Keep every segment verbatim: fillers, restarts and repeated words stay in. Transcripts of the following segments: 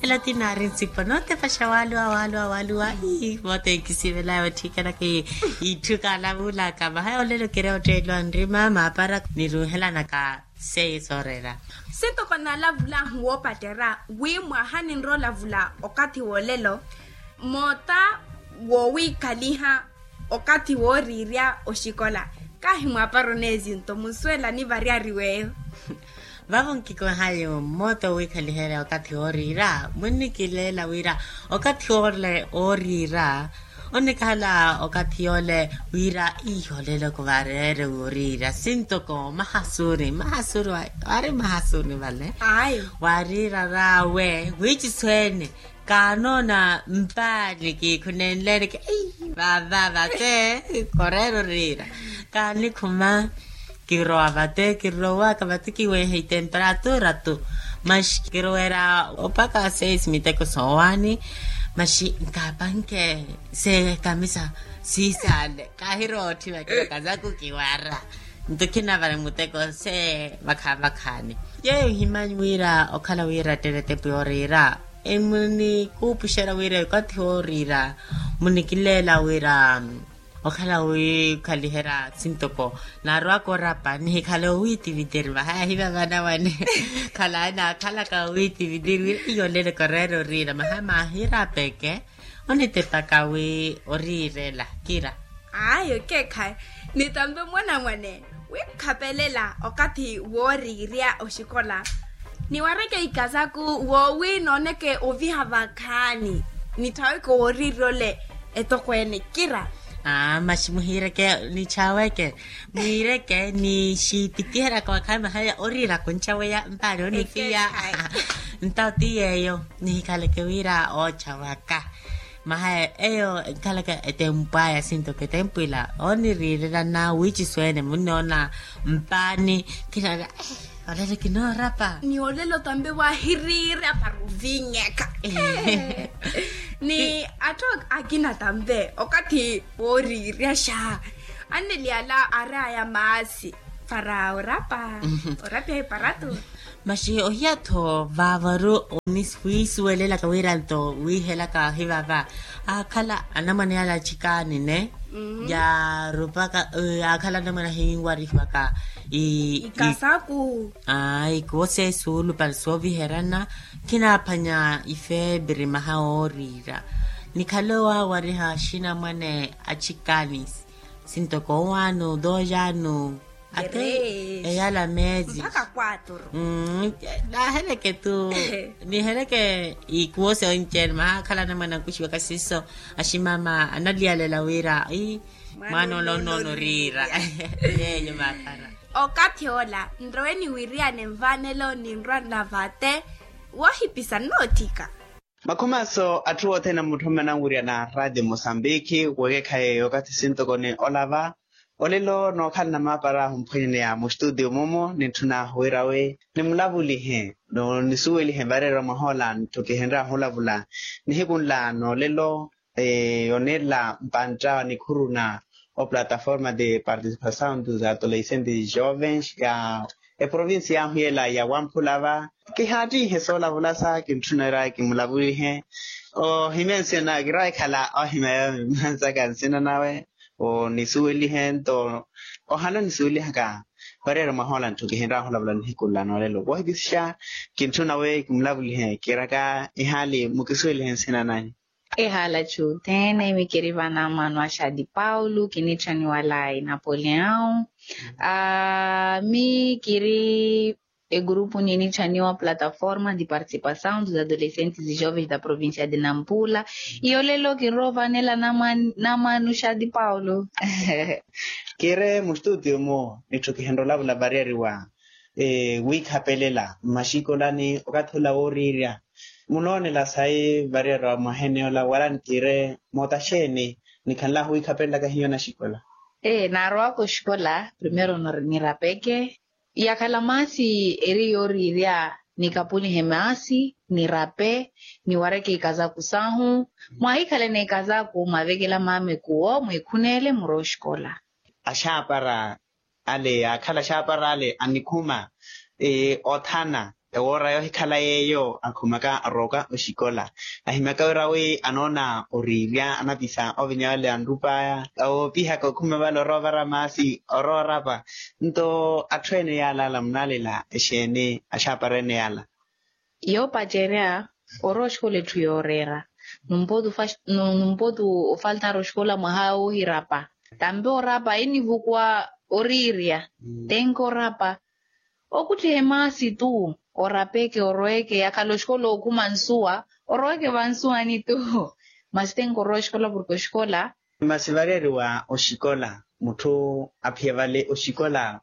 Ela ti naari nsipo nootepaxa waluwa waluwa waluwa. Ii moota enkisivelaya otthikana ki itthu kaalavulaka vaha olelo kiri otteeliwa nrima maapara niruuhelanaka. Seiya sooreera. Sintoko naalavulahu woopatterya wi mwaha ninrola vula okathi wolelo moota wowiikhaliha okathi wooriirya oxikola. Kaahi mwaapara oneezinto munsuwela nivaryari weyo. Vavo nkikohayo mmoota owiikhaliherya okathi wooriira mwinnikileela wira okathi ole wooriira onnikhala okathi yole wira iho leloko vareere wooriira sintoko mahasuri mahasuri waari mahasuri vale. Waariira raawe wiicisweene kaanoona mpaani kiikhunenleene ki vava vate koreera oriira kaanikhuma kirowa vate kirowaka vate kiweeha itemperatura tu. Maxi kiroweera opaka seis miteko soowaani maxi nkaapanke se kamisa siisaale kaahirowa otthiva kira kazaku kiwara nto khinavale muteko se vakhaavakhaani. Yeeyo ohimanyi wira okhala wira tterettepu yooriira emunikuupuxerya wira okathi wooriira munikileela wira okhala wiikhaliherya sintoko naarowaka orapa nihikhale owiitivitiri vahaya hiva vanamwane khalayi naakhalaka owiitivitiri wira iyolele koreera oriira mahaya maahirapeke onitepaka wi oriirela kira. Ayo keekhayi nitampe mwanamwane wiikhapelela okathi wooriirya oxikola niwareke ikazaku woowi nooneke oviha vakhaani nitthaweke wooriirya ole etokweene kira. Aa maxi muhiireke nitthaweke mwiireke nixititiheryaka wakhaani mahaya oriira kuncaweya mpaani onifiya. Ntawo ti yeeyo nihikhaleke wira oocha waka. Mahaya eyo enkhalaka etempu aya sintoko etempu ila oniriirelana wiicisweene munnoona mpaani kinaala olelo kinoorapa ni olelo tampe waahiriirya para ovinyeka. Ni atthu akina tampe okathi wooriiryaxa anneli ala aari aya maasi para orapa orapya iparatu. Maxi ohiya-tho vaavaru oniwiisuwelelaka wira nto wiihelaka hivava aakhala anamwane yala achikaani ne yaarupaka yaakhala anamwane ahinwarihwaka ikasaku. Ikuwo seesuulupale sooviherana khinaaphwanya ifeepiri maha wooriira nikhale owaawariha axinamwane achikaani sintoko owaano doojaano ate eyala meezi mpaka kwaturu. Naaheleke tu niheleke ikuwo se onci-ene mahaakhala anamwana ankuxiwaka siiso aximaama analiyalela wira mwaana ole onnoona oriira yeeyo maakhala. Okathi ola nrowe niwiriyane nvaanelo ninrwanla vate woohipisa nnootthika. Makhumaaso atthu othene amutthummana nwiriyana raadio mosambiki wekekhaye okathi sintoko ni olava olelo nookhalana maapara ahumphwenyeneya mustutio mumu nitthuna wira wi nimulavulihe nisuwelihe vareerya mwahoola ntthu kihenrya ohulavula nihiku nla noolelo. Oneerela mpantta nikhuruna oplataforma de participasaw dos adolescentes jovens ya eprovincia yahu yela ya wamphula va kihaattihe soolavulasa kintthunera kimulavulihe ohimya nsina nawe kirawa ekhala ohimya yoomi mmansaka nsina nawe onisuwelihe nto ohala onisuwelihaka vareerya mwahoola ntthu kihinrya ohulavula nihiku nla noolelo wohipisixa kintthuna we kimulavulihe kiraka ihaali mukisuwelihe nsina nanyu. Ehaala chuthene mi kiri vanamwano a xadi paulo kinitthaniwala inapoleão. Mi kiri egurupu ninitthaniwa plataforma de participasaw dos adolescentes e jovens da provincia de nampula. Iyo lelo kinroovanela namwano xadi paulo. Kiri mustutio mu nitthu kihenrolavula variyariwa wiikhapelela mmaxikolani okathi ola wooriirya munoonela sayi variyariwa mwaheneyola wala nkiire moota xeeni nikhanlahu wiikhapelelaka hiyo naxikola. Ee naarowaka oxikola primero nirapeke yakhala maasi eri yooriirya nikapulihe maasi nirape niwareke ikazaku sahu mwahikhalene ikazaku mwavekela maama ekuwo mwiikhuneele murowa oxikola. Axaapara ale yaakhala axaapara ale anikhuma othana Ewoora yoohikhala yeeyo akhumaka arooka oxikola. Ahimyaka wira wi anoona oriirya anapisa ovinya vale anrup'aya, oopihaka okhuma vale orowa ovara maasi orowa orapa. Nto atthu ene yaala ala munaalela exeeni axaapara ene yaala? Yoopacerya orowa oxikola etthu yooreera. Numpotu ofaltara oxikola mwaha woohirapa. Tampi orapa enivukuwa oriirya. Tenki orapa. Okuttiha emaasi tu. Orapeke oroweke yakhala oxikola ookhuma nsuwa. Oroweke vansuwani tu. Masi tenki orowa oxikola porke oxikola. Masi vareeriwa oxikola mutthu aphiya vale oxikola.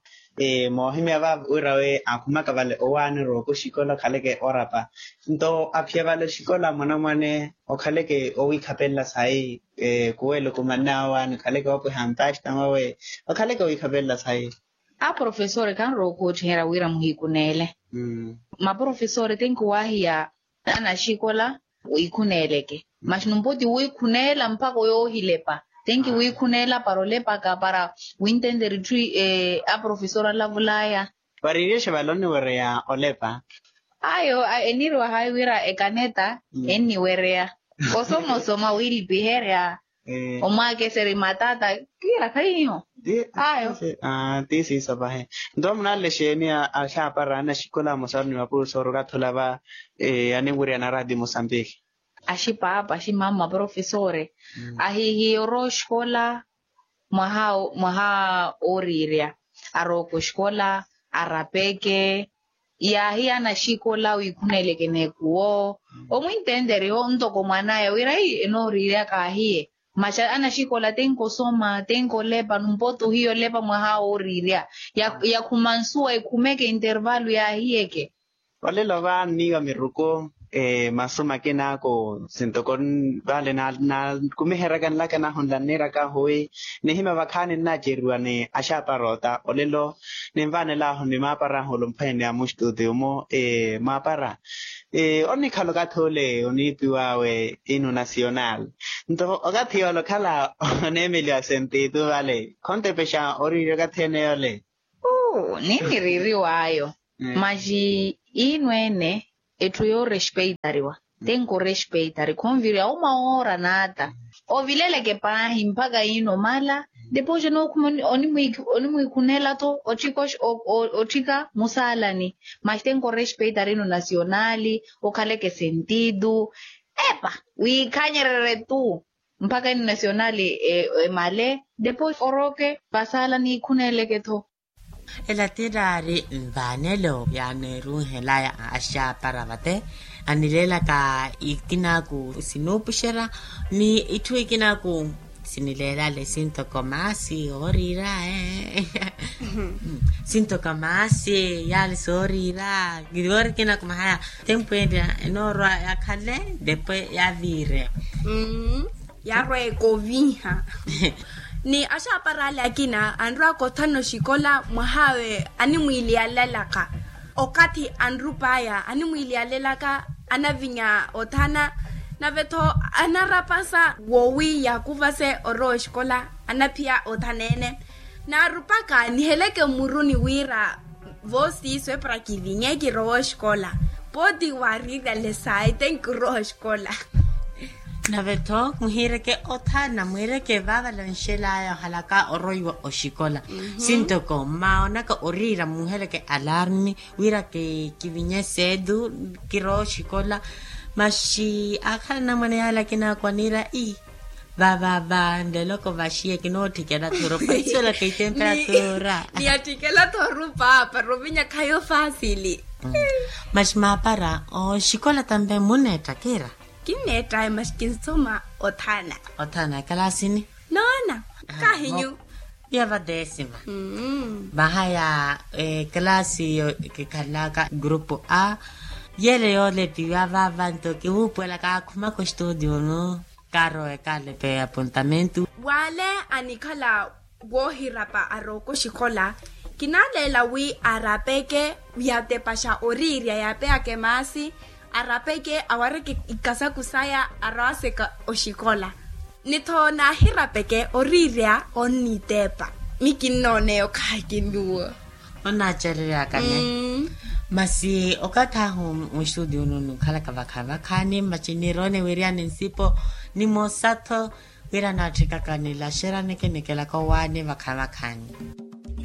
Moohimya va wira we akhumaka vale owaani oroweke oxikola okhaleke orapa. Nto aphiya vale oxikola mwanamwane okhaleke owiikhapelela sayi. Kuwele okumannaya owaani okhaleke oopweha mpastama we okhaleke owiikhapelela sayi. Aprofesori khanrowa okhuwettiherya wira muhiikuneele. Maprofesori tenki wahiya anaxikola wiikhuneeleke. Masi numpoti wiikhuneela mpakha oyoohilepa. Tenki wiikhuneela para olepaka para wintenteri etthu. Aprofesori alavulaya. Variiryexe vale onniwereya olepa. Ayo eniiriwa hayi wira ekaneta enniwereya. Osomosoma wiilipiherya. Omwaakeseri matata. Kiira khayiyo. Ayo. Ti siiso pahi. Nto munaalele exeeni axaapara anaxikola amosaru ni mapurusoori okathi olava aninwiriyana raati musambiki? Axipaapa aximama maprofesori ahihiya orowa oxikola mwaha ooriirya. Arooke oxikola arapeke. Yaahiya anaxikola wiikhuneeleke n'ekuwo omwintenteri ntoko mwan'aya wira enooriirya kaahiye. Masi anaxikola tenki osoma tenki olepa numpoti ohiya olepa mwaha wooriirya. Yakhuma nsuwa ekhumeke intervalu yaahiyeke. Olelo va nniiwa miruku masu makinaku sintoko vale nakumiheryaka nlaka nahunla nniiraka ahuwi. Nihimya vakhaani nnaaceriwa ni axaapara ota olelo. Ninvaanel'ahu ni maapara ahu olumphweene ya mustutiyo-mo. Maapara onnikhala okathi ole oniipiw'awe inu nasional. Nto okathi yoole okhala oneemeliwa sentitu vale khontepexa oriirya okathi ene yoole. Niniriiriw'ayo. Masi inu ene etthu yoorespeitariwa. Tenki orespeitari khonviriya uma woora n'ata ovileleke paahi mpakha ino mala. Depois onookhuma onimwiikhuneela-tho otthika musaalani. Masi tenki orespeitari ino nasionali okhaleke sentitu. Epa wiikhanyererye-tu mpakha ino nasionali emale. Depois oroke vasaalani iikhuneeleke-tho. Ela tiraari nvaanelo yaaneerunhelaya axaapara vate anileelaka ikinaaku sinuupuxerya ni itthu ikinaaku sinileelale sintoko maasi ooriira. Sintoko maasi yaale sooriira. Kivoori kinaaku mahaya tempu enrya enoorwa yakhale depwe yaviire. Yaarweeka oviha. Ni axaapara ale akina anrwaka othana oxikola mwaha awe animwiiliyalelaka okathi anrup'aya animwiiliyalelaka anavinya othana. Nave-tho anarapasa wowi yaakuvase orowa oxikola anaphiya othana ene. Naarupaka niheleke mmuruni wira voosiiso epara kivinye kirowa oxikola. Pooti waariirale sayi tenki orowa oxikola. Nave-tho muhiireke othana mwiireke vaavalanxel'aya ohalaka oroiwa oxikola. Sintoko mmaonaka oriira muuheleke alarmi wira kivinye seetu kirowa oxikola. Masi akhala anamwane yaale akinaakwa niira ii vavava nleloko vaxiye kinootthikela thurupa isolaka itemperatura. Niyatthikela thorupa para ovinya khayo faasili. Masi maapara oxikola tampe munneetta kiira? Kinneettaye masi kinsoma othana. Othana ekalaasini? Noona. Kahinyu? Iya va desima. Vahaya ekalaasi kikhalaka grupu a. Yele yoolepiwa vava nto kiwuupuwelaka akhumaka ostudio-nu. Karowa ekalepe apontamentu. Wale anikhala woohirapa arooka oxikola. Kinaaleela wi arapeke yatepaxa oriirya yaapeyaka emaasi. Arapeke awareke ikasaku saya arowaseka oxikola. Ni-tho naahirapeke oriirya onnitepa. Mi kinnooneya okhayi kinuwo. Onnaaceleryaka ne. Masi okathi ahu mwistutiyuni nukhalaka vakhaani vakhaani masi niroone wiryani nsipo, ni moosa-tho wira naatthikaka nilaxerya nikinekelaka owaani vakhaani vakhaani.